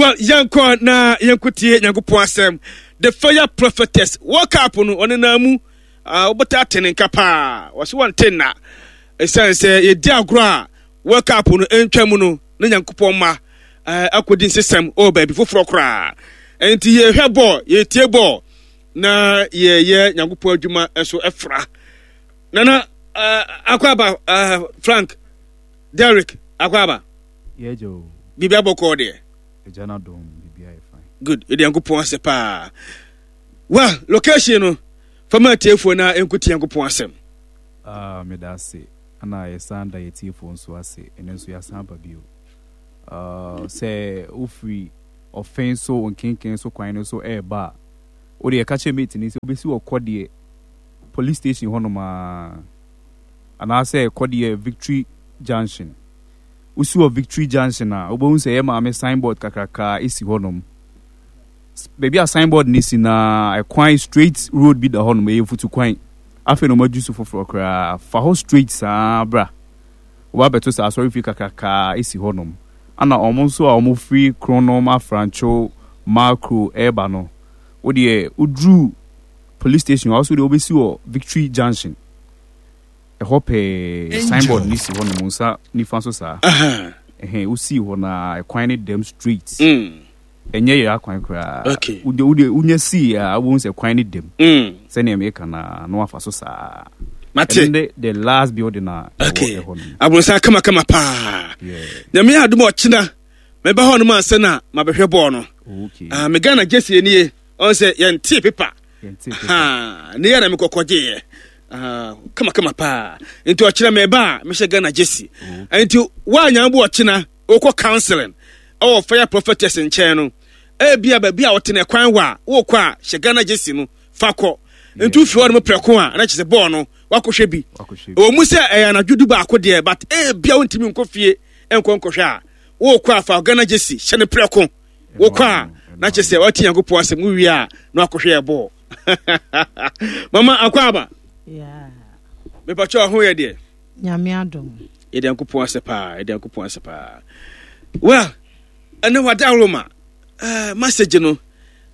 Well, yɛnkɔ na yɛnkɔtie Nyankopɔn asɛm. The Fire Prophetess, World Cup no, ɔne naa mu, ah, wobɛta ate ne nka paa. Wɔse wɔnte nna. Ɛsiane sɛ yɛdi agorɔ a World Cup no ntwa mu no, na Nyankopɔn ma eh, akɔdi nsesɛm wɔ baabi foforɔ koraa. Enti yɛhwɛ bɔɔl, yɛtie bɔɔl, na yɛyɛ Nyankopɔn adwuma nso ɛfra. Nana, uh, akɔ aba, uh, Frank, Derek, akɔ aba. Yɛgya o. Biribi abɔkɔɔ deɛ. Agya no adom biribi ayɛ fine. Good, yɛde Nyankopɔn ase paa. Well, location no, fama atiefoɔ na ɛnkɔtie Nyankopɔn asɛm. Ah, meda ase. Ana yɛsan da yɛtiefoɔ nso ase. Ɛno nso yɛasan aba bio. Uh, sɛ wofiri ɔfɛn so nkenken so kwan no so ɛreba a, wode ɛka kyerɛ mate ni sɛ wobɛsi wɔ kɔdeɛ police station hɔnom a anaasɛ kɔdeɛ Victory Junction. Wosi wɔ Victory Junction a, wobɛhu sɛ yɛ maame signboard kakraka si hɔnom. Baabi a signboard no si na ɛkwan straight road bi da hɔnom, ɛyɛ mfutu kwan. Afei na wɔadwu so foforɔ koraa. Fa hɔ straight saa bra. Woba bɛto sɛ asɔrefie kakraka si hɔnom. Ana wɔn nso a wɔfiri Kronom, Afrancho, Makro ɛreba no, wodeɛ woduru police station hɔ a, wo nso deɛ wobɛsi wɔ Victory Junction. Ɛhɔ pɛɛ signboard no si hɔ nom nsa nifa so saa. Ɛhɛn wosii hɔ na ɛkwan no dɛm straight. Mm. Ɛnyɛ yɛ akwan koraa. Okay. Wode wode wonya sii a wobɛhu sɛ kwan no dɛm. Mm. Sɛnea meka na na wafa so saa. Mate. Ɛno ne the last building a ɛwɔ Okay. ɛhɔ nom. Abonsan kamakama paa. Yeah. Nyame yɛ adom a ɔkyena mɛba hɔ nom ansa na mabɛhwɛ bɔɔl no. Okay. Ah, me Ghana jersey nie. Ɔn sɛ yɛntee pepa. Ne yɛ na mekɔkɔgyeeɛ kamakama paa nti ɔkyena meba a mehyɛ Ghana gyesi nti woanya bo ɔkyena wokɔ counseling ɛwɔ fire prophetess nkyɛn no ebia baabi a ɔte no kwan wɔ a wokɔ a hyɛ Ghana gyesi no fa kɔ nti wofiri hɔ no prɛko a na kyerɛ sɛ bɔɔl no wakɔhwɛ bi ɛwɔ mu sɛ ɛyɛ anadwo du baako deɛ but ebia wontumi nkɔ fie nkɔ nkɔhwɛ a wokɔ a fa Ghana gyesi hyɛ no prɛko Wokɔ a na kyerɛ sɛ wate Nyankopɔn asɛm wowie a na wakɔhwɛ yɛ bɔɔl. Mama akɔ aba. Mepakyɛ ɔho yɛ deɛ. Nyame adom. Yɛde Nyankopɔn asɛ paa, yɛde Nyankopɔn asɛ paa. Well, ɛnɛ wada Roma. Uh, message no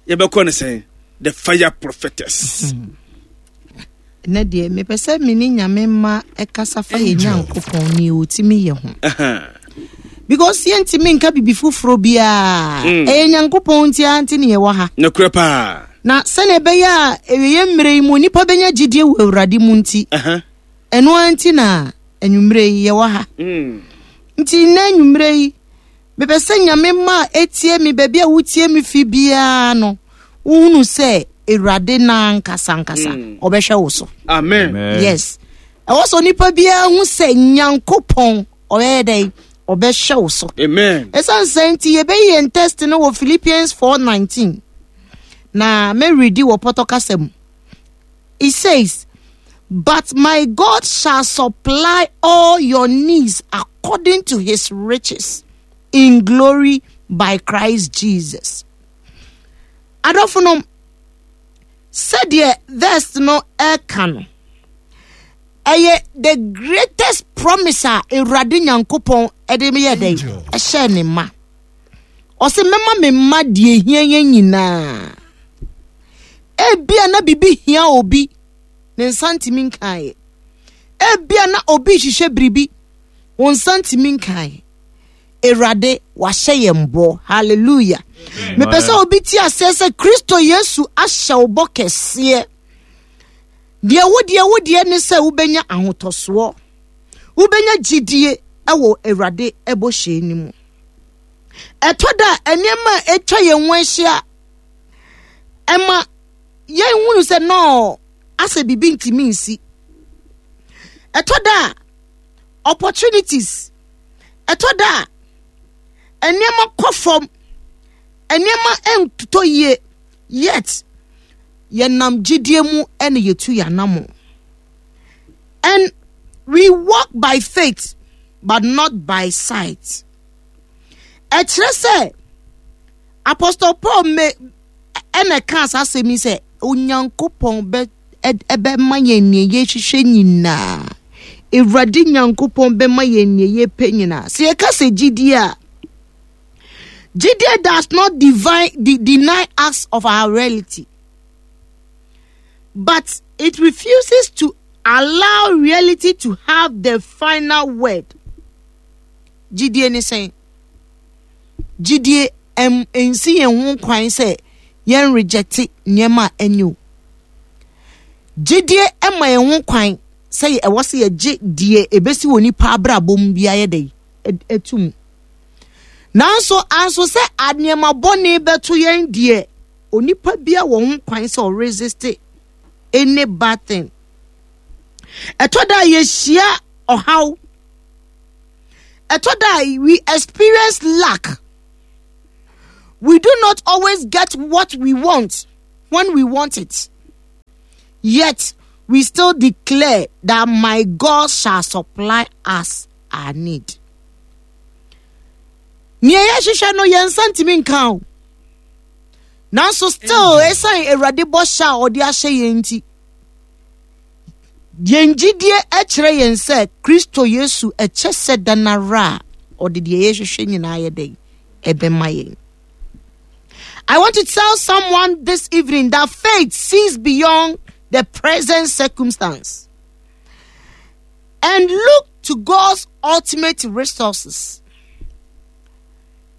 yɛbɛkɔ no sɛn? The fire prophetess. Ɛnɛ deɛ mepɛ sɛ me ne Nyame mma ɛkasa fa yɛ Nyankopɔn ne ɔtumi yɛ ho. Because yɛntumi nka bibi foforɔ biara. Mm. Ɛyɛ Nyankopɔn nti ara nti ne yɛwɔ ha. Nokorɛ paa. Na sɛnea ɛbɛyɛ a ɛwieɛ mmerɛ yi mu nnipa bɛnya gyidie wɔ Awurade mu nti. Ɛno ara nti na anwummerɛ yi yɛwɔ ha. Mm. Nti nnɛ anwummerɛ yi Mepɛ sɛ Nyame mma a ɛtie me baabi a wotie me fi biara no, wohunu sɛ Awurade no ankasa ankasa mm. ɔbɛhwɛ wo so. Amen. Yes. Ɛwɔ sɛ onipa biara hu sɛ Nyankopɔn ɔbɛyɛ dɛn ɔbɛhwɛ wo so. Amen. Ɛsiane sɛ nti yɛbɛyi yɛn test no wɔ Philippians 4:19 na mɛredi wɔ pɔtɔ kasa mu. It says, But my God shall supply all your needs according to his riches in glory by Christ Jesus. Adɔfo no, sɛdeɛ verse no ɛka no, ɛyɛ the greatest promise a Awurade Nyankopɔn ɛde yɛ dɛn ɛhyɛ ne ma. Ɔse mɛma me mma deɛ ehia yɛn nyinaa. Ebia na biribi hia obi, ne nsa ntumi nkaeɛ. Ebia na obi rehwehwɛ biribi, wo nsa ntumi nkaeɛ. Awurade wahyɛ yɛn bɔ. Hallelujah. Mepɛ sɛ obi te aseɛ sɛ Kristo Yesu ahyɛ wo bɔ kɛseɛ. Deɛ wo deɛ wo deɛ ne sɛ wobɛnya ahotɔsoɔ. Wobɛnya gyidie wɔ Awurade bɔhyɛ no mu. Ɛtɔ da a nneɛma a atwa yɛn ho ahyia ɛma yɛnhunu sɛ nɔɔ asɛ biribi ntumi nsi. Ɛtɔ da a opportunities, ɛtɔ da a nneɛma kɔ fam, nneɛma ntotɔ yie yet yɛnam gyidie mu ɛna yɛtu yɛn anamo. And we walk by faith but not by sight. Ɛkyerɛ sɛ Apostle Paul me ɛna ɛkaa saa asɛm yi sɛ Onyankopɔn bɛ ɛbɛma yɛn nea yɛhwehwɛ nyinaa. Awurade Nyankopɔn bɛma yɛn nea yɛpɛ nyinaa. Sɛ yɛka sɛ gyidie a, Gyidie does not divine, de, deny us of our reality, but it refuses to allow reality to have the final word. Gyidie ne sɛn? Gyidie ɛm nsi yɛn ho kwan sɛ yɛn rejecte nneɛma a ɛnyɛ o. Gyidie ɛma yɛn ho kwan sɛ ɛwɔ sɛ yɛgye deɛ ebesi wɔ nipa abrabɔ mu biara yɛ dɛ ɛtum. Nanso anso sɛ nneɛma bɔne bɛto yɛn deɛ onipa biara wɔ ho kwan sɛ ɔresiste any bad thing. Ɛtɔ da a yɛhyia ɔhaw. Ɛtɔ da a we experience lack. We do not always get what we want when we want it. Yet we still declare that my God shall supply us our need. Nea yɛhwehwɛ no yɛn nsa ntumi nka o. Nanso still ɛsan Awurade bɔhyɛ a ɔde ahyɛ yɛn nti. Yɛn gyidie kyerɛ yɛn sɛ Kristo Yesu ɛkyɛ sɛ da no ara a ɔde deɛ yɛhwehwɛ nyinaa yɛ dɛn ɛbɛma yɛn. I want to tell someone this evening that faith sees beyond the present circumstance and look to God's ultimate resources.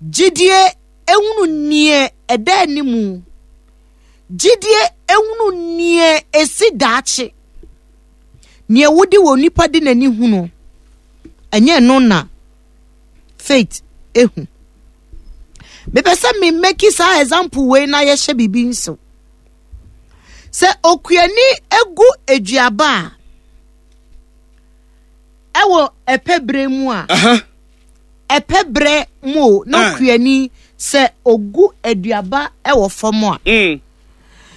Gyidie ehunu neɛ ɛda animu. Gyidie ehunu neɛ esi daakye. Neɛ wode wɔ nipa de n'ani hunu, ɛnyɛ ɛno na faith ehu. Mepɛ sɛ me make saa example wei na yɛhyɛ biribi nso. Sɛ okuani egu aduaba a ɛwɔ ɛpɛ bere mu a. Ɛpɛ berɛ mu o na ah. okuani sɛ ogu aduaba wɔ fam a mm.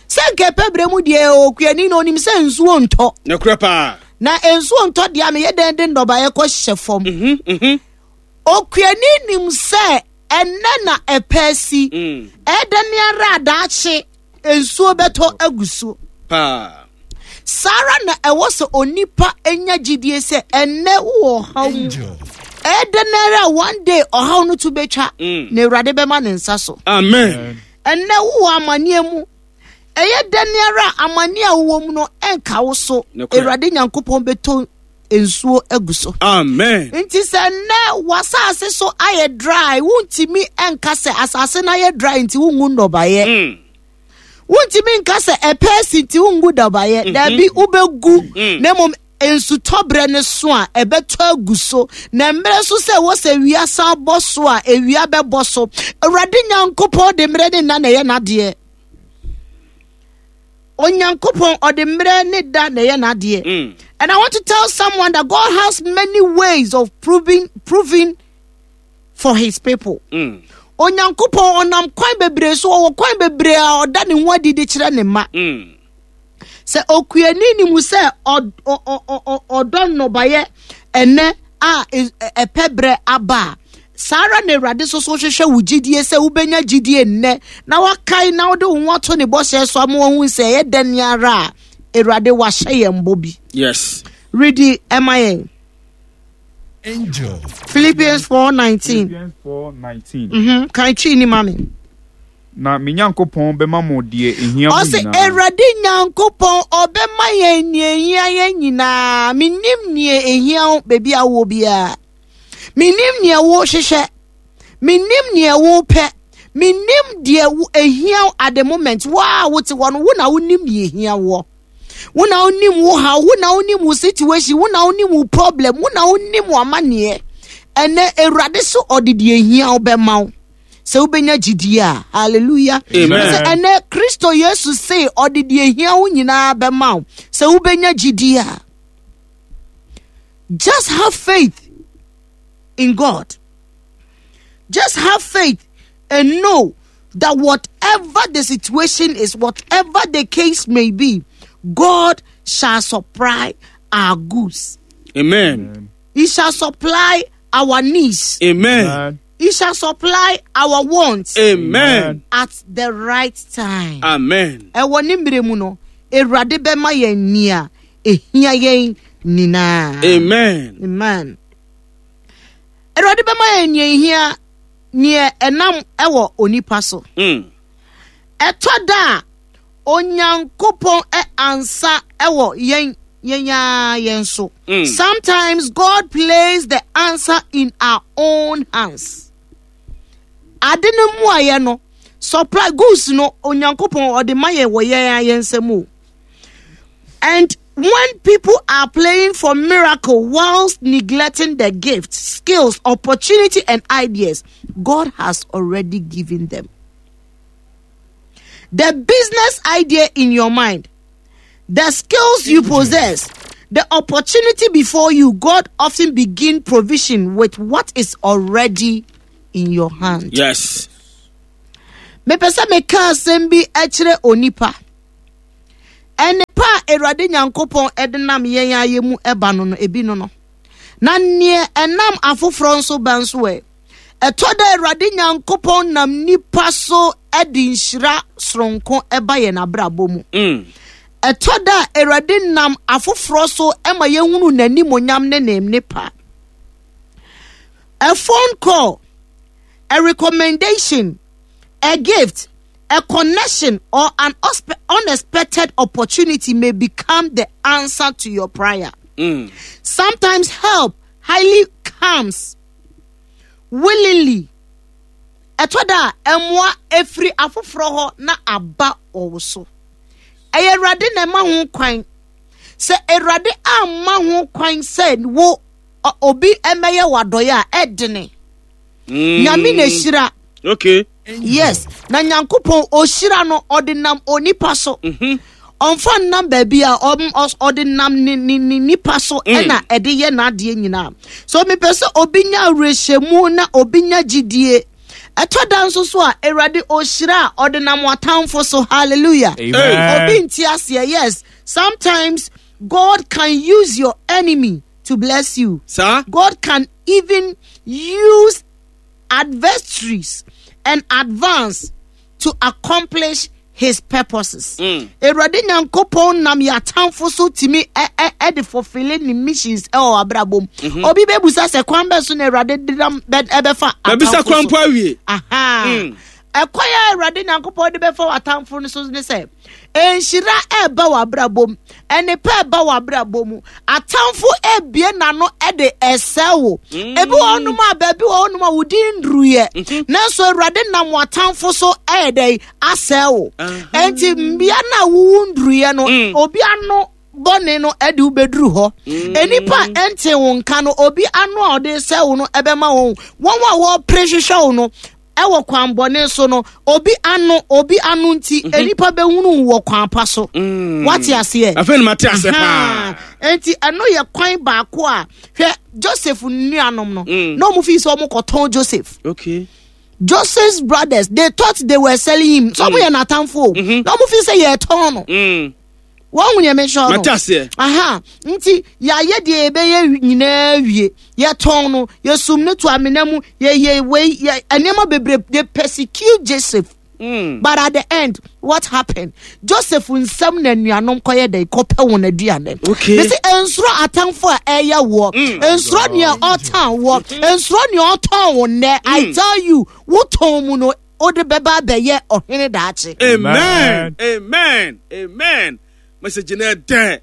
sɛ nka ɛpɛ berɛ mu deɛ okuani na onim sɛ nsuo ntɔ nokorɛ paa na nsuo ntɔ deɛ a meyɛ dɛn de nnɔbaeɛ kɔ hyɛ fam mhm, mhm. okuani nim sɛ ɛnɛ na ɛpɛ si mm. ɛdɛ ne ara adaakye nsuo bɛtɔ agu so paa. Saa ara na ɛwɔ sɛ onipa nya gyidie sɛ ɛnnɛ wowɔ ɔhaw mu. Ɛyɛ dɛn ara a one day ɔhaw no to bɛtwa mm. na Awurade bɛma ne nsa so. Amen. Ɛnnɛ wowɔ amanneɛ mu. Ɛyɛ dɛn ara a amanneɛ a wowɔ mu no ɛnka wo so. Awurade Nyankopɔn bɛtɔ nsuo agu so. Amen. Nti sɛ nnɛ w'asase so ayɛ dry, wontumi nka sɛ asase no ayɛ dry nti wongu nnɔbaeɛ. Mm. Wontumi nka sɛ ɛpɛ asi nti wongu nnɔbaeɛ. Mm-hmm. Daabi, wobɛgu mm. na mmom nsutɔberɛ no so a ɛbɛtɔ agu so na mmerɛ so sɛ ɛwɔ sɛ awia san bɔ so a awia bɛbɔ so. Awurade Nyankopɔn de mmerɛ ne nna na ɛyɛ n'adeɛ. Onyankopɔn ɔde mmerɛ ne da na ɛyɛ n'adeɛ. Mm. And I want to tell someone that God has many ways of proving proving for his people. Mm. Onyankopɔn ɔnam kwan bebree so ɔwɔ kwan bebree a ɔda ne ho adi de kyerɛ ne mma. Mm. Sɛ okuani ni mu sɛ ɔdɔ nnɔbaeɛ ɛnɛ a ɛpɛ berɛ aba a, saa ara na Awurade nso so hwehwɛ wo gyidie sɛ wobɛnya gyidie nnɛ na wakae na wode wo ho ato ne bɔhyɛ so ama wahu sɛ ɛyɛ dɛn ara a Awurade wahyɛ yɛn bɔ bi. Yes. Redi ɛma yɛn. Angel. Philippians 4:19. Philippians 4:19. Mhm. Kan twi ni ma me. Na me Nyankopɔn bɛma mo deɛ ehia mo Ɔse nyinaa. Awurade Nyankopɔn ɔbɛma yɛn nea ehia yɛn nyinaa. Menim nea ehia wo baabi a wowɔ biara. Menim nea wohwehwɛ. Menim nea wopɛ. Menim deɛ ehia wo at the moment. Wo a wote hɔ no, wo na wonim nea ehia woɔ. Wo na wonim wo haw, wo na wonim wo situation, wo na wonim wo problem, wo na wonim wo amanneɛ. Ɛnɛ Awurade so ɔde deɛ ehia wo bɛma wo. Sɛ wobɛnya gyidie a, hallelujah. Amen. Sɛ ɛnɛ Kristo Yesu se ɔde deɛ ehia wo nyinaa bɛma wo. Sɛ wobɛnya gyidie a, just have faith in God. Just have faith and know that whatever the situation is, whatever the case may be, God shall supply our goods. Amen. He shall supply our needs. Amen. Amen. He shall supply our wants. Amen. At the right time. Amen. Ɛwɔ ne mmerɛ mu no, Awurade bɛma yɛn nea ehia yɛn nyinaa. Amen. Amen. Awurade bɛma yɛn nea ehia. neɛ ɛnam ɛwɔ onipa so. Ɛtɔ da a Onyankopɔn ɛ ansa ɛwɔ yɛn yɛn ara yɛn so. Sometimes God plays the answer in our own hands. Ade no mu ayɛ no, supply goods no Onyankopɔn ɔde ma yɛn wɔ yɛn ara yɛn nsam o. And when people are playing for miracle whilst neglecting the gifts, skills, opportunity, and ideas God has already given them. The business idea in your mind, the skills you possess, the opportunity before you, God often begin provision with what is already in your hand. Yes. Mepɛ sɛ meka asɛm bi kyerɛ onipa. Nnepa a Awurade Nyankopɔn de nam yɛn ayɛ mu ba no no, ebi no no. Na neɛ ɛnam afoforɔ nso ba nso ɛ. Ɛtɔ da Awurade Nyankopɔn nam nipa so de nhyira soronko ba yɛn abrabɔ mu. Ɛtɔ da Awurade nam afoforɔ so ma yɛhunu n'animonyam ne ne nnepa. A phone call, a recommendation, a gift, a connection, or an unexpected opportunity may become the answer to your prayer. Sometimes help highly comes willingly. Ɛtɔ da a mmoa efiri afoforɔ hɔ na aba wɔ wo so. Ɛyɛ Awurade na ɛma ho kwan. Sɛ Awurade amma ho kwan sɛ wo obi mmɛyɛ w'adɔeɛ a, ɛdene. Nyame na ehyira. Okay. Yes. Na Nyankopɔn ohyira no ɔde nam onipa so. Ɔmfa nnam baabi a ɔde nam ne ne ne nipa so ɛna ɛde yɛ n'adeɛ nyinaa. So mepɛ sɛ obi nya awerɛhyɛmu na obi nya gyidie. Ɛtɔ da nso so a Awurade ohyira a ɔde nam w'atamfo so. Hallelujah. Amen. Obi nti aseɛ. Yes. Sometimes God can use your enemy to bless you. Sir? God can even use adversaries and advance to accomplish his purposes. Awurade Nyankopɔn nam yɛ atamfo so tumi ɛde fulfilling ne missions ɛwɔ abrabɔ mu. Obi bɛbusa sɛ kwan bɛ so na Awurade de nam ɛbɛfa Bɛbisa atamfo kwan so. po awie. Aha. Ɛkwan a Awurade Nyankopɔn de bɛfa w'atamfo no so ne sɛ, nhyira ɛreba w'abrabɔ mu, nnepa ɛreba w'abrabɔ mu, atamfo ebie n'ano ɛde ɛsɛe wo. Ebi wɔ hɔnom a baabi wɔ hɔnom a wo din nnuruyɛ, nanso Awurade nam w'atamfo so ɛyɛ dɛn asɛe wo. Enti mmea no a wowu nnuruyɛ no, obi ano bɔne no ɛde wo bɛduru hɔ. Nnipa a ɛnte wo nka no, obi ano a ɔde sɛe wo no ɛbɛma wɔn. Wɔn a wɔpere hwehwɛ wo no, ɛwɔ kwan bɔne so no, obi ano, obi ano nti, nnipa bɛhunu wo wɔ kwan pa so. Wate aseɛ? Afei na mate aseɛ paa. Enti ɛno yɛ kwan baako a, hwɛ, Joseph nuanom no, na ɔmo fi sɛ ɔmo kɔtɔn Joseph. Okay. Joseph's brothers, they thought they were selling him. So ɔmo yɛ n'atamfo o. Na ɔmo fi sɛ yɛtɔn no. Wɔn hu nea mehyɛ no. Mate aseɛ. Aha. Nti yɛayɛ deɛ yɛbɛyɛ nyinaa wie. Yɛtɔn no, yɛsum no to amena mu, yɛyɛ wei, yɛ nneɛma bebree. They persecute Joseph. But at the end, what happened? Joseph nsɛm na nuanom kɔyɛ dɛ kɔpɛ wɔn aduane. Okay. Mesi nsoro atamfo a ɛyɛ wɔ, nsoro nea ɔtan wɔ, nsoro nea ɔtɔn wo nnɛ. I tell you, wotɔn mu no, wode bɛba abɛyɛ ɔhene daakye. Amen. Amen. Amen. Message na ɛdɛ.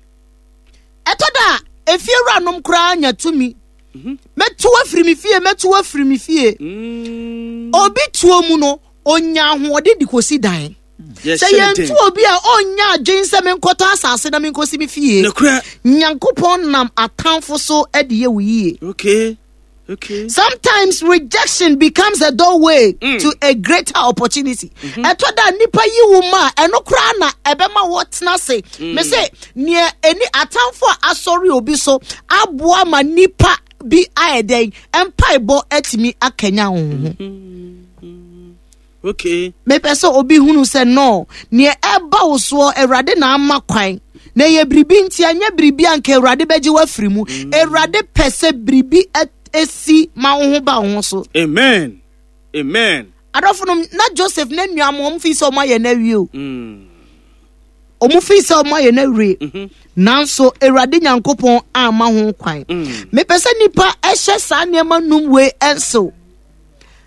Ɛtɔ da a efie wuranom koraa nya tumi. Mɛtu afiri me fie, mɛtu afiri me fie. Obi tuo mu no, onya ahoɔden de kɔsi dan. Sɛ yɛntu obi a ɔnya adwen sɛ menkɔtɔ asase na menkɔsi me fie. Nokorɛ. Nyankopɔn nam atamfo so de yɛ wo yie. Okay. Okay. Sometimes rejection becomes a doorway to a greater opportunity. Ɛtɔ da nipa yi wo ma ɛno koraa na ɛbɛma wɔtena ase. Me se nea ɛni atamfo a asɔre obi so aboa ma nipa bi ayɛ dɛn mpaebɔ atumi akanya wo ho. Okay. Mepɛ sɛ obi hunu sɛ no nea ɛba wo soɔ Awurade na ama kwan. Na ɛyɛ biribi nti ɛnyɛ biribi a nka Awurade bɛgye wo afiri mu. Awurade pɛ sɛ biribi esi ma wo ho ba wo ho so. Amen. Amen. Adɔfo no na Joseph ne nuanom wɔn fi sɛ wɔn ayɛ no awie o. Wɔn fi sɛ wɔn ayɛ no awie. Nanso Awurade Nyankopɔn amma ho kwan. Mepɛ sɛ nipa ɛhyɛ saa nneɛma num wei ɛnsew.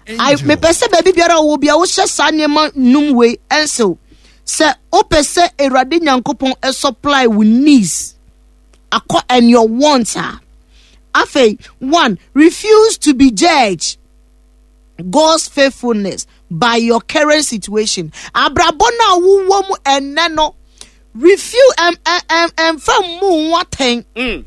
Mepɛ sɛ baabi biara wɔ bia wohyɛ saa nneɛma num wei ɛnsew sɛ wopɛ sɛ Awurade Nyankopɔn supply wo needs akɔ and your wants a. Afei, one, refuse to be judged God's faithfulness by your current situation. Abrabɔ no a wowɔ mu ɛnnɛ no, refuse ɛmfa mmu ho atɛn.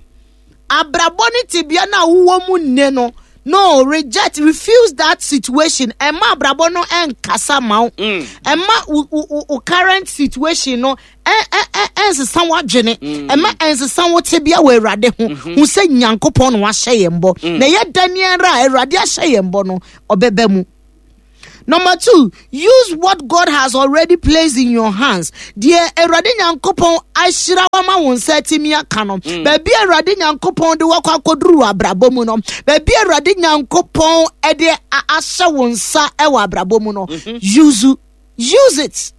Abrabɔ ne tebea no a wowɔ mu nnɛ no, no, reject, refuse that situation. Ɛma abrabɔ no ɛnkasa ma wo. Ɛma wo current situation no ɛnsesa w'adwene. Ɛma ɛnsesa wo tebea wɔ Awurade ho. Hu sɛ Nyankopɔn na wahyɛ yɛn bɔ. Na ɛyɛ dɛn ara a Awurade ahyɛ yɛn bɔ no, ɔbɛba mu. Number two, use what God has already placed in your hands. Deɛ Awurade Nyankopɔn ahyira wo ama wo nsa atumi aka no. Baabi a Awurade Nyankopɔn de wakɔ akɔduru wɔ abrabɔ mu no. Baabi a Awurade Nyankopɔn de ahyɛ wo nsa wɔ abrabɔ mu no. Use, use it.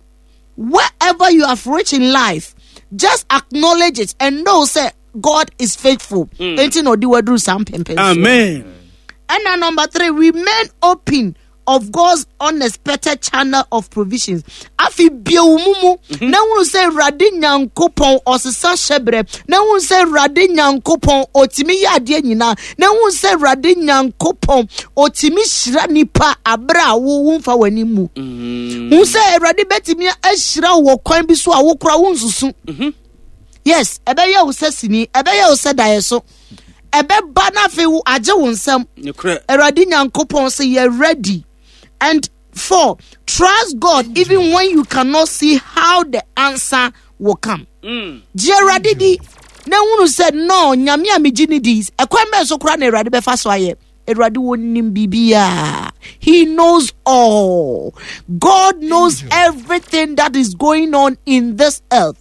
Wherever you have reached in life, just acknowledge it and know say God is faithful. Enti na ɔde waduru saa mpɛmpɛn so. Amen. And number three, remain open of God's unexpected channel of provisions. Afi bie wo mu mu na hunu sɛ Awurade Nyankopɔn ɔsesa hyɛbrɛ, na hunu sɛ Awurade Nyankopɔn ɔtumi yɛ adeɛ nyinaa, na hunu sɛ Awurade Nyankopɔn ɔtumi hyira nipa abere a wo womfa w'ani mu. Hunu sɛ Awurade bɛtumi ahyira wo wɔ kwan bi so a wokora wo nsusu. Yes, ɛbɛyɛ wo sɛ sini, ɛbɛyɛ wo sɛ daeɛ so. Ɛbɛba na afei wo agye wo nsam. Awurade Nyankopɔn sɛ yɛ ready. And four, trust God even when you cannot see how the answer will come. Gye Awurade di na hunu sɛ no Nyame a megye ne di ɛkwan bɛn so koraa na Awurade bɛfa so ayɛ. Awurade wɔnim biribiara. He knows all. God knows everything that is going on in this earth.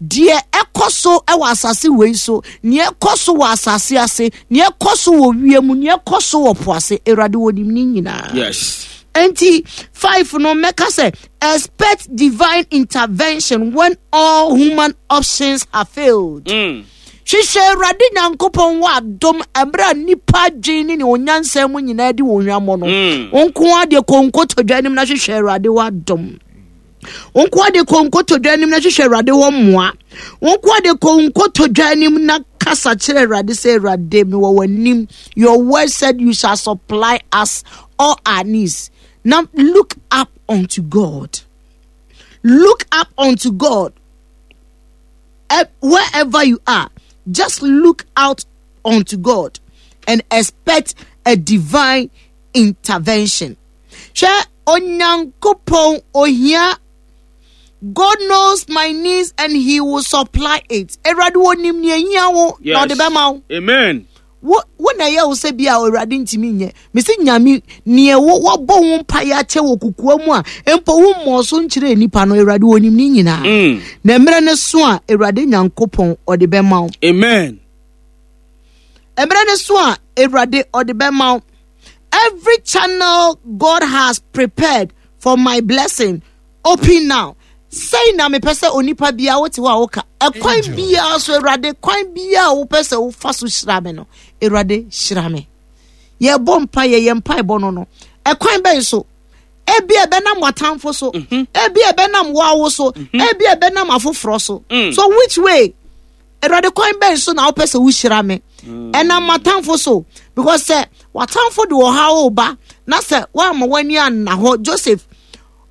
Deɛ ɛkɔ so wɔ asase wei so, nea ɛkɔ so wɔ asase ase, nea ɛkɔ so wɔ wiem, nea ɛkɔ so wɔ po ase, Awurade wɔnim ne nyinaa. Yes. Enti 5 no mɛka sɛ expect divine intervention when all human options have failed. Hwehwɛ Awurade Nyankopɔn wɔ adom ɛberɛ a nnipa adwene ne ne onyansa mu nyinaa di wɔn hwammɔ no. Wo nko ara deɛ kɔ nkotodwe anim na hwehwɛ Awurade wɔ adom. Wo nko ara deɛ kɔ nkotodwe anim na hwehwɛ Awurade wɔ mmoa. Wo nko ara deɛ kɔ nkotodwe anim na kasa kyerɛ Awurade sɛ Awurade mewɔ w'anim. Your word said you shall supply us all our needs. Now look up unto God. Look up unto God. Wherever you are, just look out unto God and expect a divine intervention. Hwɛ Onyankopɔn ohia. God knows my needs and he will supply it. Awurade onim nea ehia wo na ɔde bɛma wo. Amen. Wo na ɛyɛ wo sɛ bi a Awurade ntumi nyɛ. Mesi Nyame nea wo wɔbɔ wo mpaeɛ akyɛ wɔ kokoa mu a mpo wo mmɔɔ so nkyerɛ nipa no, Awurade onim ne nyinaa. Na mmerɛ no so a Awurade Nyankopɔn ɔde bɛma wo. Amen. Mmerɛ no so a Awurade ɔde bɛma wo. Every channel God has prepared for my blessing, open now. Sɛn na mepɛ sɛ onipa biara wote hɔ a woka ɛkwan biara so Awurade kwan biara a wopɛ sɛ wofa so hyira me no, Awurade hyira me. Yɛbɔ mpa yɛ yɛn mpaebɔ no no ɛkwan bɛn so? Ebi ɛbɛnam w'atamfo so, ebi ɛbɛnam w'awo so, ebi ɛbɛnam afoforɔ so. So which way? Awurade kwan bɛn so na wopɛ sɛ wohyira me? Ɛnam m'atamfo so, because sɛ w'atamfo de ɔhaw ba na sɛ woamma w'ani anna hɔ, Joseph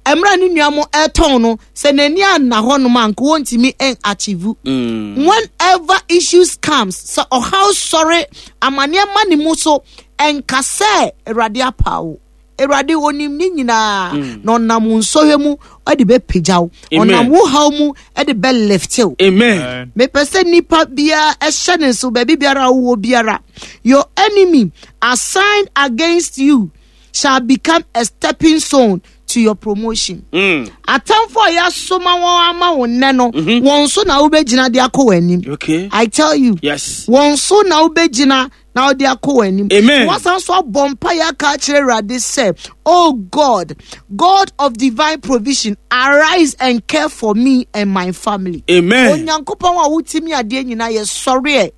mmerɛ ne nua mo ɛtɔn no, sɛ n'ani anna hɔ nom a nka wɔntumi ɛn achieve. Whenever issues comes, sɛ ɔhaw sɔre amanneɛ ma ne mu so, ɛnka sɛ Awurade apa wo. Awurade onim ne nyinaa, na ɔnam wo nsɔhwɛ mu ɛde bɛpagya wo. Amen. Ɔnam wo haw mu ɛde bɛlift wo. Amen. Mepɛ sɛ nipa biara ɛhyɛ ne nso baabi biara a wowɔ biara. Your enemy assigned against you shall become a stepping stone to your promotion. Atamfo a yɛasoma wɔn ama wo nnɛ no, wɔn so na wobɛgyina de akɔ wɔn anim. I tell you. Wɔn so na wobɛgyina na wode akɔ wɔn anim. Amen. Wɔsan so abɔ mpaeɛ aka akyerɛ Awurade sɛ, Oh God, God of divine provision, arise and care for me and my family. Amen. Onyankopɔn a wotumi adeɛ nyinaa yɛ sɔreɛ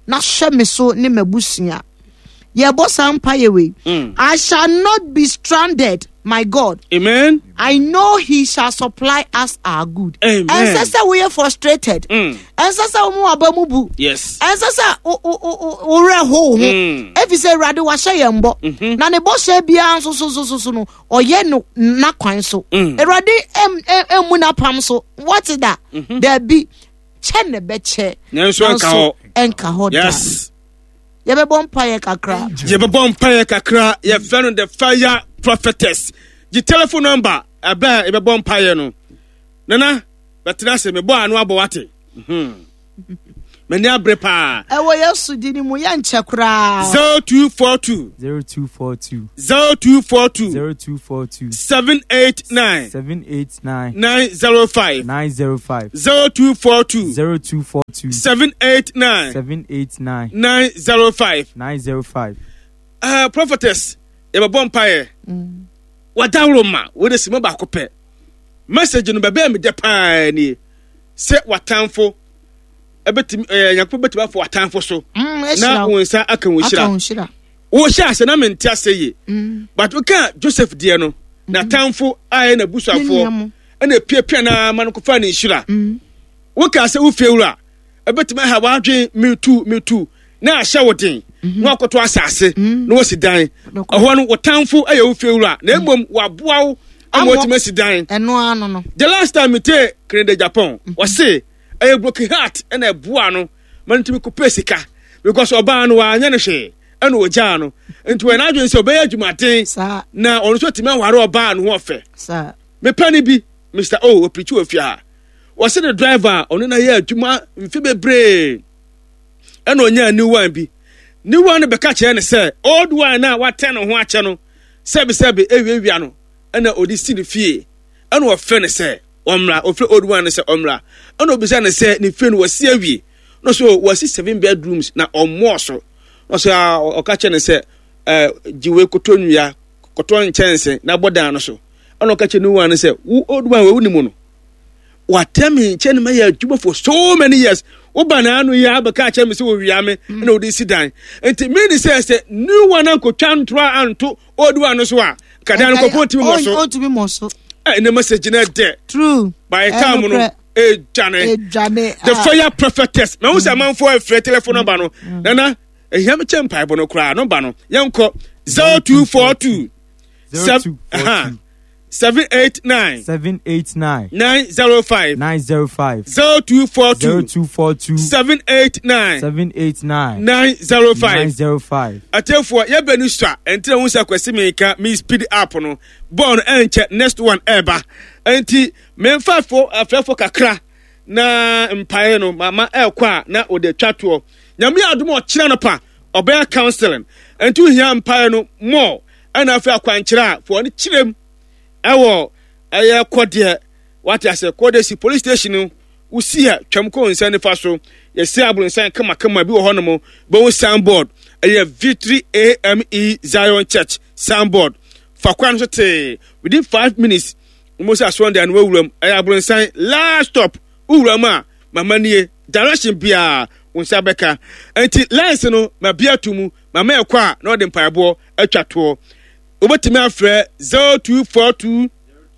na hyɛ me so ne m'abusua. Yɛbɔ saa mpaeɛ wei. I shall not be stranded, my God. Amen. I know he shall supply us our good. Amen. Ɛnsɛ sɛ woyɛ frustrated. Ɛnsɛ sɛ wo mu aba mu bu. Yes. Ɛnsɛ sɛ wo werɛ ho wo ho. Ɛfiri sɛ Awurade wahyɛ yɛn bɔ. Na ne bɔhyɛ biara nso so so so so no ɔyɛ no n'akwan so. Awurade ɛmmu n'apam so. Wɔte da. Daabi. Kyɛ na ɛbɛkyɛ. Nanso ɛnka hɔ. Ɛnka hɔ da. Yes. Yɛbɛbɔ mpaeɛ kakra. Yɛbɛbɔ mpaeɛ kakra. Yɛfrɛ no the fire prophetess. Gye telephone number ɛbɛ a yɛbɛbɔ mpaeɛ no. Nana bɛtena ase mebɔ ano abɔ wate. M'ani abere paa. Ɛwɔ Yesu din mu yɛnkyɛ koraa. 0242. 0242. 0242. 0242. 789. 789. 905. 905. 0242. 0242. 789. 789. 905. 905. Prophetess, yɛbɛbɔ mpaeɛ. Wadaworo ma wode sima baako pɛ. Message no bɛbɛɛ me dɛ paa nie. Sɛ watamfo ɛbɛtumi ɛɛ Nyankopɔn bɛtumi afɔ watamfo so. Na wɔn nsa aka wɔn hyira. Wɔhyɛ ase na mente ase yie. But woka Joseph deɛ no, n'atamfo a ɛyɛ n'abusuafoɔ ɛna epiapia na ama no kɔfa ne nhyira. Woka sɛ wofie wura ɛbɛtumi aha w'adwen metu metu na ahyɛ wo den na wakɔtɔ asase na wasi dan. Ɛhɔ no wo tamfo ɛyɛ wo fie wura na mmom waboa wo ama watumi asi dan. Ɛno ano no. The last time metee Kennedy Agyapong ɔse ɛyɛ broken heart ɛna ɛboa no ma no tumi kɔpɛ sika because ɔbaa no wanyɛ no hwee ɛna ɔgyaa no nti wɔyɛ n'adwene sɛ ɔbɛyɛ adwumaden na ɔno nso atumi aware ɔbaa no ho ɔfɛ. Mepɛ no bi Mr. O ɔpirikyi wɔ fie ha. Wɔse ne driver a ɔno na yɛ adwuma mfe bebree ɛna ɔnyaa new one bi. New one no bɛka kyerɛ no sɛ old one no a watɛn ne ho akyɛ no sɛbesɛbe ewiawia no ɛna ɔde si ne fie ɛna ɔfrɛ no sɛ ɔmmra. Ɔfrɛ old one no sɛ ɔmmra ɛna ɔbisa no sɛ ne fie no wɔasi awie no so wɔasi 7 bedrooms na ɔmmɔɔ so na ɔsɛ ɔka kyerɛ no sɛ ɛɛ gye wei kɔtɔ nnua kɔtɔ nkyɛnse na bɔ dan no so ɛna ɔka kyerɛ new one no sɛ wo old one wɔ wo ne mu no watɛ me nkyɛn no mayɛ adwuma for so many years woba na ano yi abɛka akyerɛ me sɛ wɔwia me ɛna wɔde si dan nti mene sɛ sɛ new one ankɔtwa ntorɔ anto old one no so a nka dan no kɔpɔ ntumi mmɔ so ɔntumi mmɔ so ɛnɛ message no ɛdɛ true by the time no ɛdwane ɛdwane the fire prophetess na wo sɛ amanfoɔ ɛfrɛ telephone number no nana ɛhia me kyɛ mpaebɔ no koraa number no yɛnkɔ 0242 0242 789 789 905 905 0242 0242 789 789 905 905. Atiefoɔ yɛbɛ no sua ɛnti na wo sɛ Kwasi Mika me speed up no bɔɔl no ɛnkyɛ next one ɛɛba ɛnti memfa fo afɛfo kakra na mpaeɛ no mama ɛɛkɔ a na ɔde atwa toɔ Nyame yɛ adom ɔkyena no pa ɔbɛyɛ counseling ɛnti wohia mpaeɛ no more ɛna afei akwankyerɛ a foɔ no kyerɛm ɛwɔ ɛyɛ kɔdeɛ wate ase kɔdeɛ si police station no wosi a twam kɔ nsa nifa so yɛsi abronsan kamakama bi wɔ hɔ nom bɛhu signboard ɛyɛ Victory AME Zion Church signboard fa kwan so tee within 5 minutes mo sɛ asɔn deɛ no wawuram ɛyɛ abronsan last stop wowura mu a mama nie direction biara wo nsa bɛka nti lines no ma bi ato mu mama ɛkɔ a na ɔde mpaeboɔ atwa toɔ wobɛtumi afrɛ 0242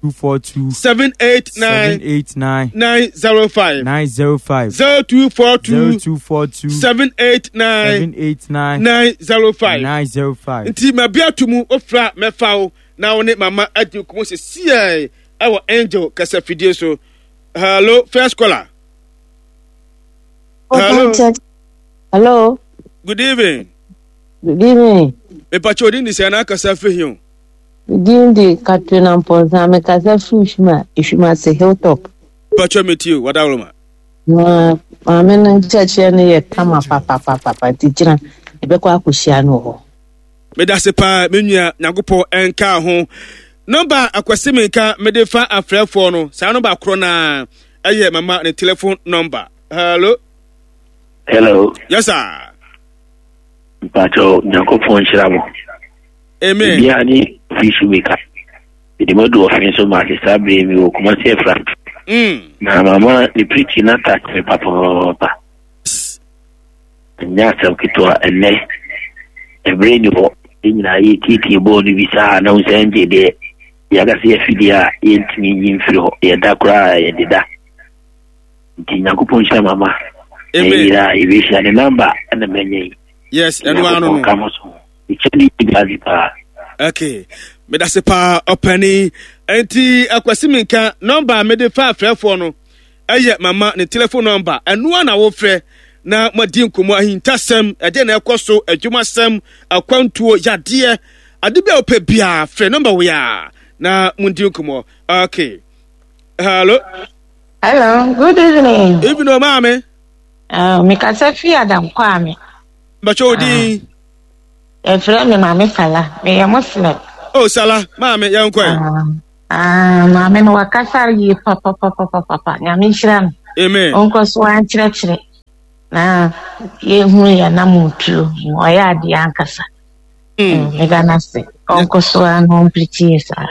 242 789 789 905 905 0242 0242 789 789 905 905. nti ma bi ato mu wofrɛ a mɛfa wo na wo ne mama adi nkɔmmɔ sɛsiɛ ɛwɔ angel kasafidie so. Hello, first caller. Hello. Hello. Good evening. Good evening. Mepakyɛ odin de sɛ na akasa firi he o. Din de Katrina Mpɔnsa, mekasa firi Hwima, Hwimase Hilltop. Mepakyɛ metie o, wadaworoma. Na maame no nkyerɛkyerɛ no yɛ kama papapapapa nti gyina yɛbɛkɔ akɔhyia no wɔ hɔ. Medase paa me nua Nyankopɔn ɛnka ho. Nɔmba akwasi menka mede fa afrɛfoɔ no saa nɔmba korɔ naa ɛyɛ mama ne telephone number. Hello. Hello. Yes sir. Mpakyɛw Nyankopɔn nhyira mo. Amen. Bia ne fish maker. Mede mo adu ɔfe so ma ase saa bere mi wɔ Kumasi afra. Na mama ne preaching na touch me papaapa. Ɛnyɛ asɛm ketewa ɛnɛ. Ɛberɛ nni hɔ. Yɛn nyinaa yɛretietie bɔɔl no bi saa na wohu sɛ ɛngye deɛ yɛaka sɛ yɛafidie a yɛntumi nyi mfiri hɔ. Yɛda koraa a yɛdeda. Nti Nyankopɔn nhyira mama. Amen. Ɛyera yɛbɛhyia ne namba ɛna manya yi. Yes, ɛno ano no. Ka mo so. Ɛkyɛ ne bi ase paa. Okay. Medase paa ɔpani. Nti akwasi minka nɔmba a mede fa afrɛfoɔ no ɛyɛ mama ne telephone nɔmba. Ɛno a na wofrɛ na moadi nkɔmmɔ ahintasɛm, ɛdeɛ na ɛkɔ so, adwumasɛm, akwantuo, yadeɛ, ade bi a wopɛ biara frɛ nɔmba wei a na mondi nkɔmmɔ. Okay. Hello. Hello, good evening. Evening, o maame. Mekasa fi Adam Kwame. Bàtchɛ o din. Yɛfrɛ me Maame Sala. Meyɛ Muslim. Oh, Sala, maame, yɛn kɔ ɛ. Ah, maame no wakasa yie papapapapapa. Nyame nhyira no. Amen. Ɔnkɔ so ankyerɛkyerɛ na yɛhunu yɛn anammɔntuo. Ɔyɛ adeɛ ankasa. Meda no ase. Ɔnkɔ so a na ɔmpirikyi yɛ saa.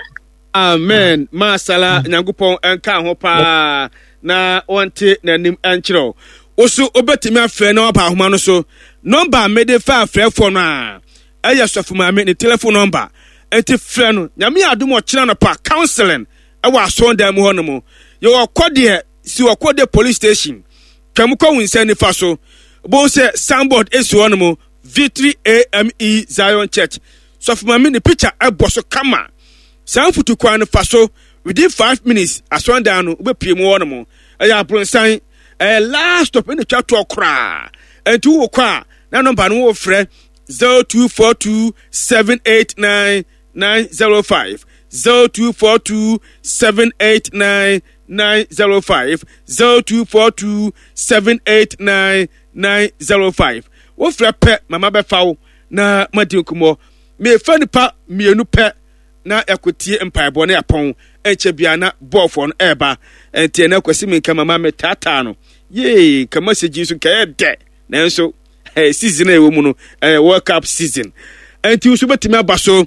Amen. Ma Sala Nyankopɔn nka ho paa na ɔnte n'anim nkyerɛ wo. Wo so wobɛtumi afrɛ na waba ahoma no so. Nɔmba a mede fa afrɛfoɔ no a ɛyɛ sɔfo maame ne telefon nɔmba. Nti frɛ no. Nyame yɛ adom ɔkyena anɔpa counseling ɛwɔ asɔndan mu hɔ nom. Yɛwɔ kɔdeɛ si wɔ kɔdeɛ police station. Twam kɔ wo nsa nifa so. Bohu sɛ signboard esi hɔ nom Victory AME Zion Church. Sɔfo maame ne picture ɛbɔ so kama. Saa mfutukwan no fa so within 5 minutes asɔndan no wobɛpie mu hɔ nom. Ɛyɛ abronsan. Ɛyɛ last stop ɛna twa toɔ koraa. Ɛnti wowɔ kɔ a na nɔmba no wofrɛ 0242 789 905, 0242 789 905, 0242 789 905. Wofrɛ pɛ mama bɛfa wo na madi nkɔmmɔ. Mefa nipa mmienu pɛ na yɛakɔtie mpaebɔ na yɛapɔn. Ɛnkyɛ biara na bɔɔfoɔ no ɛreba. Ɛnti ɛnɛ Kwasi Menka mama metaataa no. Yee, nka message yi so nka ɛyɛ dɛ. Nanso season a ɛwɔ mu no ɛyɛ World Cup season. Ɛnti nso bɛtumi aba so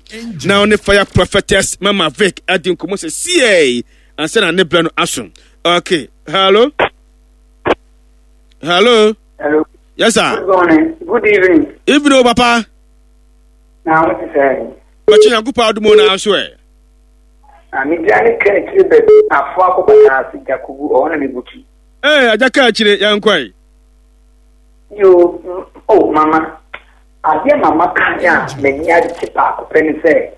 na ɔne Fire Prophetess Mama Vic adi nkɔmmɔ sɛ siei ansa na ne berɛ no aso. Okay, hello? Hello? Hello. Yes, sir. Good morning. Good evening. Evening, oh, Papa. Na what is that? Bɛkye Nyankopɔn adom o na nso ɛ. Na me dua ne ka akyire baabi afo akɔ bataa ase Jakubu ɔhɔ na mebutu. Ee, agya ka akyire yɛn kɔe. Yo, oh mama, adeɛ mama kan a m'ani agye baako pɛ ne sɛ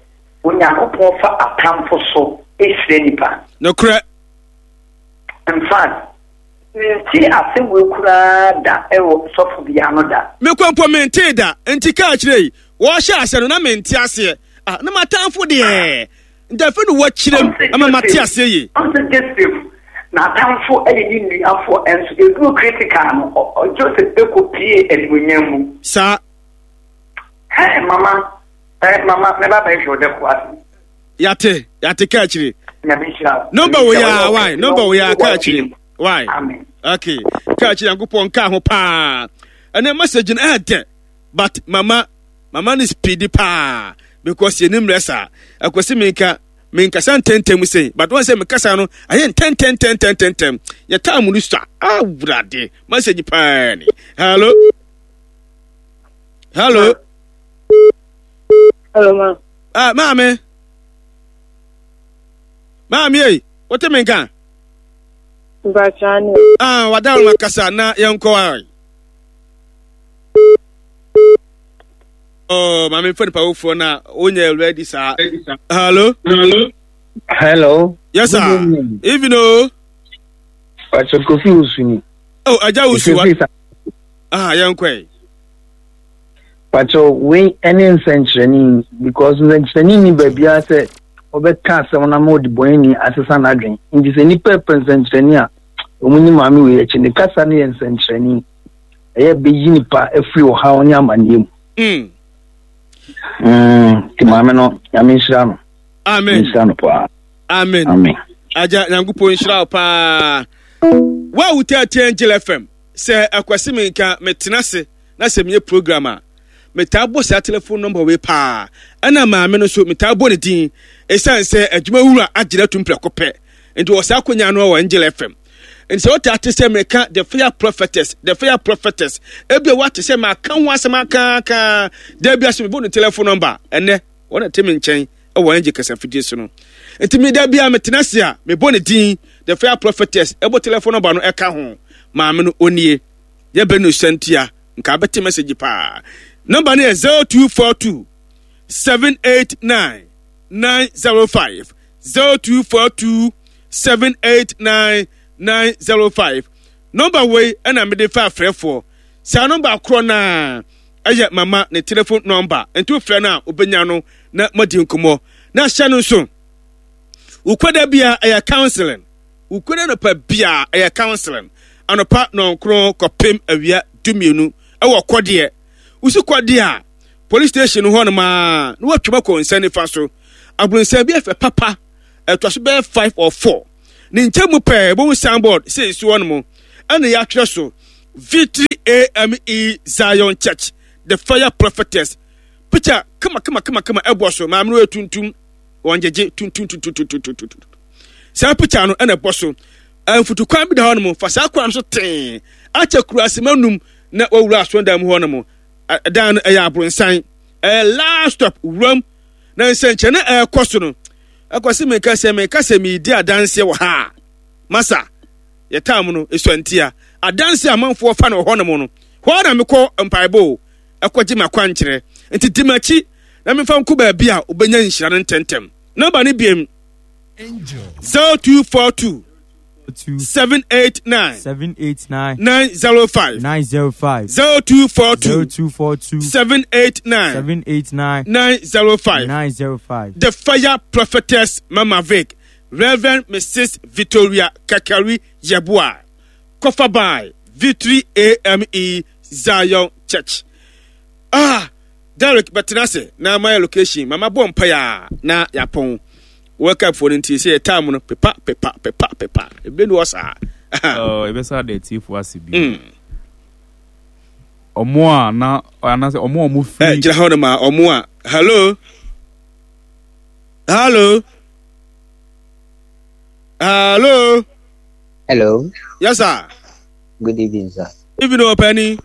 Onyankopɔn fa atamfo so hyira nipa. Nokorɛ. In fact, Mentee asɛm wei koraa da wɔ sɔfo bi ano da. Me kɔ mpo mentee da. Nti kaa kyerɛ yi, wɔhyɛ aseɛ no na mente aseɛ. Ah, na m'atamfo deɛ, nti afei na wɔakyerɛ mu ama mate aseɛ yie. Ɔn sɛ Joseph n'atamfo yɛ ne nuafoɔ nso ɛduru critical no, Joseph kɔ pie animuonyam mu. Saa. Hey, mama, eh, mama, mɛba bɛhwɛ wo dɛ ko ase. Yate, yate kaa akyire. Nyame nhyira wo. Number wo ya, why? Number wo ya kaa akyire. Why? Amen. Okay. Kaa akyire Nyankopɔn nka ho paa. Ɛnɛ message no ɛɛdɛ. But mama, mama ne speedy paa because yɛnim mmerɛ saa. Akwasi menka menkasa ntɛntɛm sei but wɔn sɛ mekasa no ayɛ ntɛntɛntɛntɛntɛm. Yɛ time no sua. Awurade message paa ni. Hello. Hello. Hello, ma. Ah, maame. Maame ei, wote me nka? Mpakyɛ ne. Ah, wada wo kasa na yɛnkɔ ai. Oh, maame mfa nipa wofoɔ na wonyɛ ready saa. Hello? Hello. Hello. Yes, sir. Good evening. Evening, o. Pacho Kofi Osuni. Oh, Aja Osu. Ah, yɛnkɔ yi. Pacho wei ɛne nsɛnkyerɛnne because nsɛnkyerɛnne ni baabiara sɛ ɔbɛka asɛm no ama ɔdebɔneyɛni asesa n'adwene. Nti sɛ nnipa pɛ nsɛnkyerɛnne a, wɔn ni maame wei akyi. Ne kasa no yɛ nsɛnkyerɛnne. Ɛyɛ bɛyi nipa afiri ɔhaw ne amanneɛ mu. Nti maame no, Nyame nhyira no. Amen. Nhyira no paa. Amen. Amen. Agya, Nyankopɔn nhyira wo paa. Wo a wotaa Angel FM, sɛ akwasi me nka metena ase na sɛ meyɛ program a, metaa bɔ saa telephone number wei paa. Ɛna maame no nso metaa bɔ ne din ɛsiane sɛ adwuma wura agyina atum prɛko pɛ. Nti wɔ saa akonya no wɔ Angel FM. Nti sɛ wote ate sɛ meka the fire prophetess, the fire prophetess, ebia woate sɛ maka ho asɛm akaaka, da bi ase mebɔ ne telephone number, ɛnɛ wɔn na ɛte me nkyɛn wɔ angel kasafidie so no. Nti me da bi a metena ase a mebɔ ne din, the fire prophetess, ɛbɔ telephone number no ɛka ho. Maame no onie. Yɛbɛ no santia, nka abɛte message paa. Number no yɛ 0242 789 905 0242 789 905. Nɔmba wei ɛna mede fa afrɛfoɔ. Saa nɔmba korɔ no a ɛyɛ mama ne telefon nɔmba. Nti wofrɛ no a wobɛnya no na moadi nkɔmmɔ. Na hyɛ no nso, wokwada bia ɛyɛ counseling. Wokwada nɔpa bia ɛyɛ counseling. Anɔpa nɔnkron kɔpem awia dumienu ɛwɔ kɔdeɛ. Wosi kɔdeɛ a police station hɔ nom a na watwam akɔ nsa nifa so. Abrɔnsan bi ɛfɛ papa, ɛtoa so bɛyɛ 5 or 4. Ne nkyɛn mu pɛɛ, bohu signboard sɛ esi hɔ nom, ɛna yɛatwerɛ so Victory AME Zion Church, The Fire Prophetess. Picture kama kama kama kama ɛbɔ so, maame no yɛ tuntum, wɔn gyegye tuntum tuntum tuntum tuntum. Saa picture no ɛna ɛbɔ so. Mfutukwan bi da hɔ nom, fa saa kwan no so tee, akyɛ kura asema num na wawura asɔndan mu hɔ nom. Dan no ɛyɛ abronsan, ɛyɛ last stop wuram na nsɛnkyerɛnne a ɛrekɔ so no ɛkɔ sɛ meka sɛ meka sɛ meredi adanseɛ wɔ ha a masa yɛtaa mu no ɛsua ntia adanseɛ amanfoɔ fa no wɔ hɔnom no hɔ na mekɔ mpaebɔ o ɛkɔgye m'akwankyerɛ nti di m'akyi na memfa nkɔ baabi a wobɛnya nhyira no ntɛmntɛm nɔmba no biem 0242 789 789 905 905 0242 0242 789 789 905 905. The Fire Prophetess Mama Vic, Reverend Mrs. Victoria Kakari Yeboah, Kofa by Victory AME Zion Church. Ah, Derek bɛtena ase na mayɛ location mama bɔ mpaeɛ a na yɛapɔn World Cup foɔ no nti sɛ yɛ time no pepa pepa pepa pepa ebi ni hɔ saa. Ɛbɛsa da atiefo ase bi. Ɔmo a na anaasɛ ɔmo a ɔmo firi. Gyina hɔ no ma ɔmo a hello hello hello. Hello. Yes sir. Good evening sir. Evening ɔpɛni.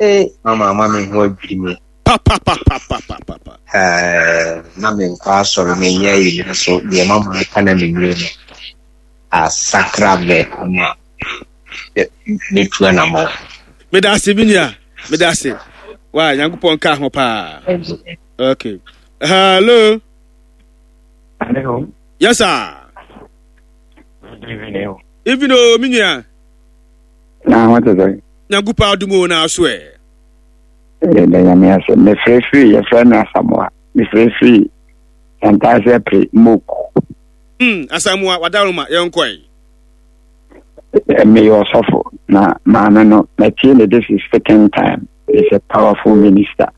Ee mama ama me ho adwiri me. Papapapapapapa. Ɛɛ na menkɔ asɔre menyɛ ayi nanso deɛ mama aka na mewie no asakra me ama metu anamɔ. Meda ase me nua meda ase wa Nyankopɔn ka ho paa. Okay. Hello. Hello. Yes sir. Good evening. Evening o me nua. Na ho te sɛ. Nyankopɔn adom o na aso ɛ. Yɛda Nyame ase. Mefrɛ firi yɛfrɛ me Asamoah. Mefrɛ firi Santase Apre Moku. Hmm, Asamoah wadaroma yɛnkɔe. Meyɛ ɔsɔfo na maame no matie ne this is second time. Is a powerful minister.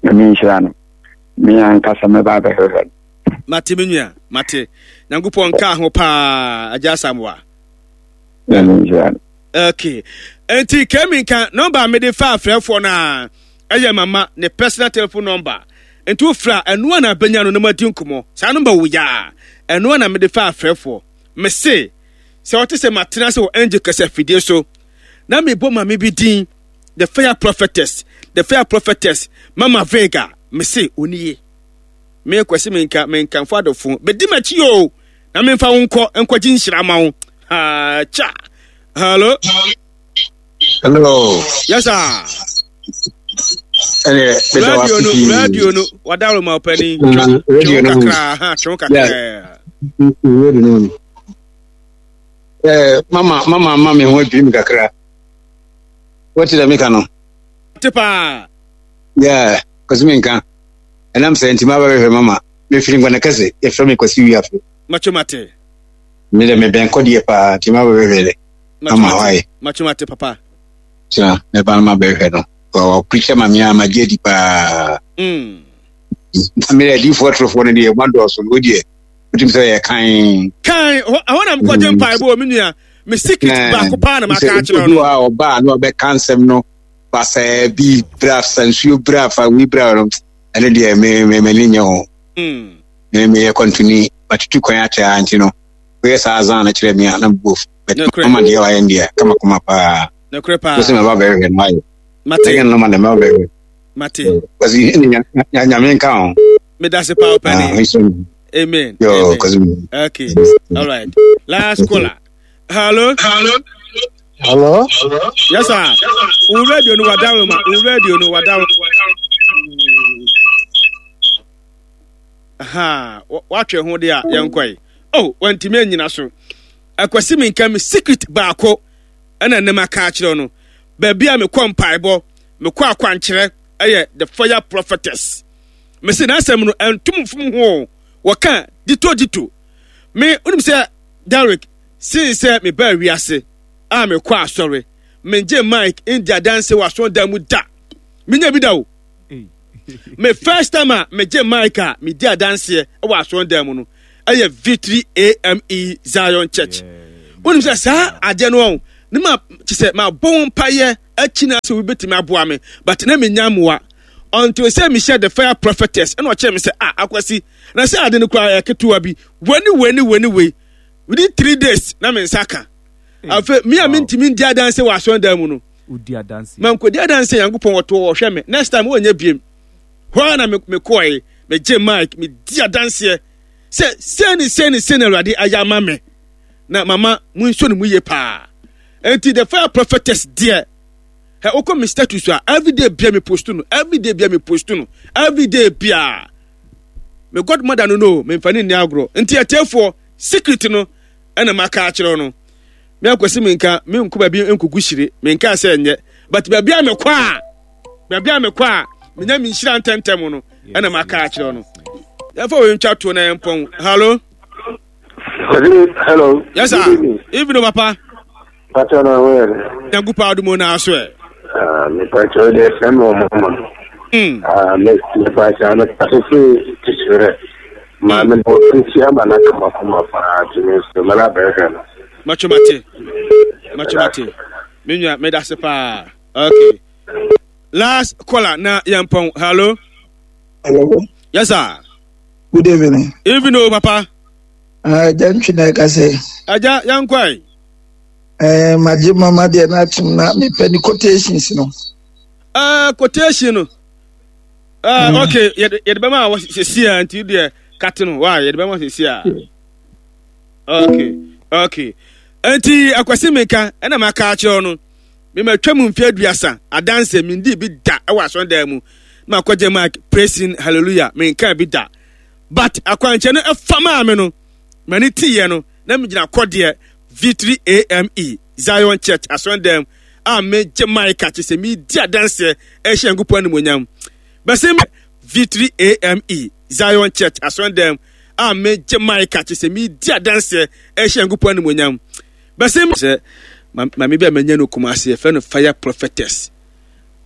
Nyame nhyira no. Me ankasa mɛba abɛhwehwɛ no. Mate me nua, mate. Nyankopɔn nka ho paa, Agya Asamoah. Nyame nhyira no. Okay. Nti kemi nka nɔmba a mede fa afrɛfoɔ no a ɛyɛ mama ne personal telephone number. Nti wofrɛ a ɛno a na abɛnya no na moadi nkɔmmɔ. Saa nɔmba wo ya a ɛno a na mede fa afrɛfoɔ. Mese sɛ wɔte sɛ matena ase wɔ angel kasa afidie so na mebɔ maame bi din the fire prophetess the fire prophetess mama Vega mese onie. Me kwasi menka menkamfo adɔfo bɛdi m'akyi o na memfa wo nkɔ nkɔgye nhyira ma wo ha cha hello hello yes sir radio no radio no wadaro ma ɔpani radio no kakra ha twɛn kakra radio no eh mama mama mama me ho adwiri mi kakra wɔte dɛ meka no te paa yeah kwasi menka ɛnam sɛ nti maba bɛhwɛ mama mefiri nkwana kɛse yɛfrɛ me Kwasi Wiafe. Matwo mate. Me dɛ mebɛn kɔdeɛ paa nti maba bɛhwɛ dɛ mama hɔ ayɛ. Matwo mate papa. Kyena mɛba no mabɛhwɛ no. Ɔpreacher ma me a magye adi paa. Mm. Me dɛ adiifoɔ atorofoɔ no deɛ wɔadɔɔso no wodeɛ wotumi sɛ yɛ kan. Kan ɛhɔ na mekɔgye mm. mpaebɔ wɔ me nua me secret baako paa na maka akyerɛ no. Obi wɔ a ɔbaa na ɔbɛka nsɛm no basaa bi bra sa nsuo bra fa wi bra no ɛno deɛ me me m'ani nyɛ ho. Mm. Me meyɛ kwantuni matutu kwan akyɛ ara nti no. Woyɛ saa azan no kyerɛ me a na mebo afu. But mama deɛ wayɛ no deɛ kamakama paa. Nokorɛ paa. Wosɛ mɛba bɛhwehwɛ no ayɛ. Mate. Second no ma deɛ mɛba bɛhwehwɛ. Mate. Kwasi nyame nka ho. Medase paa ɔpɛni. Ah, Amen. Yo, Amen. Kwasi. Okay. All right. Last caller. Hello. Hello. Hello. Yes sir. Wo radio no wadawo ma. Wo radio no wadawo. Aha, watwe ho de a yɛnkɔe. Oh, wantumi anyina so. Akwasi menka me secret baako ɛna ne maka akyerɛ no. Baabi a mekɔ mpaebɔ, mekɔ akwankyerɛ ɛyɛ the fire prophetess. Mese n'asɛm no ɛntom mfom ho. Wɔka dito dito. Me wonim sɛ Derek sen sɛ mebaa wiase a mekɔ asɔre. Mengye mic ndi adanse wɔ asɔredan mu da. Menya bi da o. Me first time a megye mic a medi adanseɛ wɔ asɔredan mu no ɛyɛ Victory AME Zion Church. Wonim sɛ saa adeɛ no ɔn ne ma kyɛ sɛ mabɔ ho mpaeɛ akyi na sɛ obi bɛtumi aboa me but na menya mmoa until sɛ mehyɛ the fire prophetess ɛna ɔkyerɛ me sɛ ah akwasi na sɛ ade no koraa yɛ ketewa bi wei ne wei ne wei ne wei within three days na me nsa ka afei me a mentumi ndi adanse wɔ asɔredan mu no wodi adanse. Mankɔdi adanse Nyankopɔn wɔto ɔhwɛ me next time wɔnyɛ biem hɔ ara na mekɔe megye mic medi adanseɛ sɛ sei ne sei ne sei na Awurade ayɛ ama me na mama mo nso ne mu yie paa enti the fire prophetess deɛ ɛ wokɔ me status a everyday bia me post no everyday bia me post no everyday bia me godmother no no memfa ne nni agorɔ nti atiefoɔ secret no ɛna maka akyerɛ no Me akwasi menka menkɔ baabi nkogu hyire menka sɛ ɛnyɛ but baabi a mekɔ a baabi a mekɔ a menya me nhyira ntɛntɛm no ɛna maka akyerɛ no yɛmfa wei ntwa to na yɛmpɔn hallo. Hello. Yes sir. Evening papa. Pàtó na wọ́n yẹ dẹ. Nyankopɔn adumo na aso ɛ. Mepàtó deɛ fẹ́ mi wɔ mama. Mepàtó no kasa firi tìtìrẹ. Maame no nti ama no akamakama paa nti me nso mɛba abɛhwɛ no. Macho mate. Macho mate. Me nua meda ase paa. Okay. Last caller na yɛmpɔn. Hello. Hello. Yes sir. Good evening. Evening o papa. Agya uh, ntwi na ɛka sɛ. Agya yɛnkɔe. Eh, magye mama deɛ no atom na mepɛ ne quotations no. Uh, quotation no. Uh, mm. Okay, yɛde bɛma a sɛsi a nti deɛ kate no wa yɛde bɛma sɛsi a. Okay, okay. Nti akwasi meka ɛna maka akyerɛ no mematwa mu mfe aduasa adanse mendi bi da ɛwɔ asɔndan mu na makɔgye mark praising hallelujah menka bi da but akwankyɛ no ɛfa maa me no m'ani teeɛ no na megyina kɔdeɛ victory ame zion church asɔndan mu a megye mic a kyerɛ sɛ medi adanseɛ ɛhyɛ Nyankopɔn animuonyam. Bɛsɛ me Victory AME Zion Church asɔndan a megye mic a kyerɛ sɛ medi adanseɛ ɛhyɛ Nyankopɔn animuonyam. Bɛsɛ me sɛ maame bi a manya no Kumasi yɛfrɛ no Fire Prophetess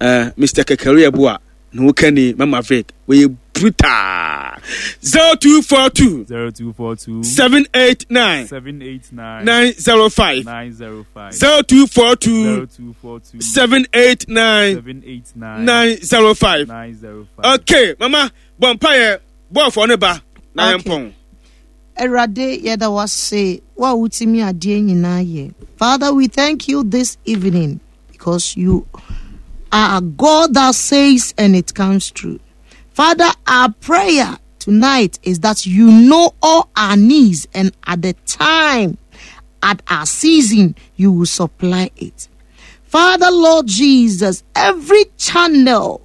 uh, Mr. Kekere Abua ne ho kani Mama Vic wɔyɛ brutal 0242 0242 789 789 905 905 0242 0242 789 789 905 905 okay mama bɔ mpaeɛ bɔɔfoɔ no ba na Okay. yɛmpɔn Awurade yɛda wo ase wo a wotumi adeɛ nyinaa yɛ. Father, we thank you this evening because you are a God that says and it comes true. Father, our prayer tonight is that you know all our needs and at the time, at our season, you will supply it. Father, Lord Jesus, every channel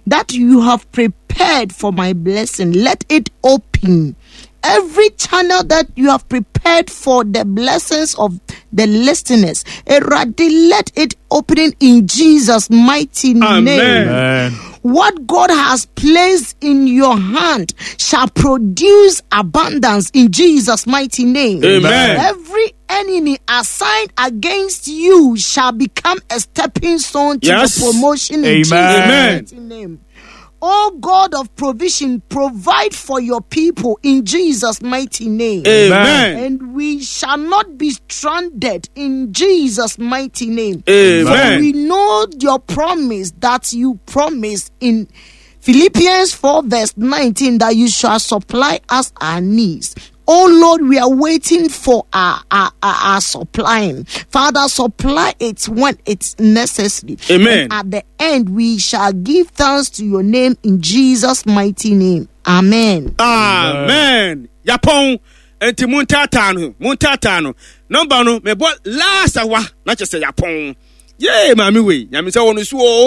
that you have prepared for my blessing, let it open. Every channel that you have prepared for the blessings of the listeners, Eradi, let it open in Jesus' mighty Amen. name. Amen. What God has placed in your hand shall produce abundance in Jesus' mighty name. Amen. Every enemy assigned against you shall become a stepping stone to Yes. your promotion in Amen. Jesus' Amen. mighty name. Oh God of provision, provide for your people in Jesus' mighty name. Amen. And we shall not be stranded in Jesus' mighty name. Amen. For we know your promise that you promised in Philippians 4, verse 19, that you shall supply us our needs. Oh Lord, we are waiting for our, our, our, our supplying. Father, supply it when it's necessary. Amen. And at the end, we shall give thanks to your name in Jesus' mighty name. Amen. Amen. Yapɔn nti mo ntaataa no mo ntaataa no nɔmba no mebɔ last awa na kyɛ sɛ yapɔn yee maame wei nyame sɛ wɔ no so o.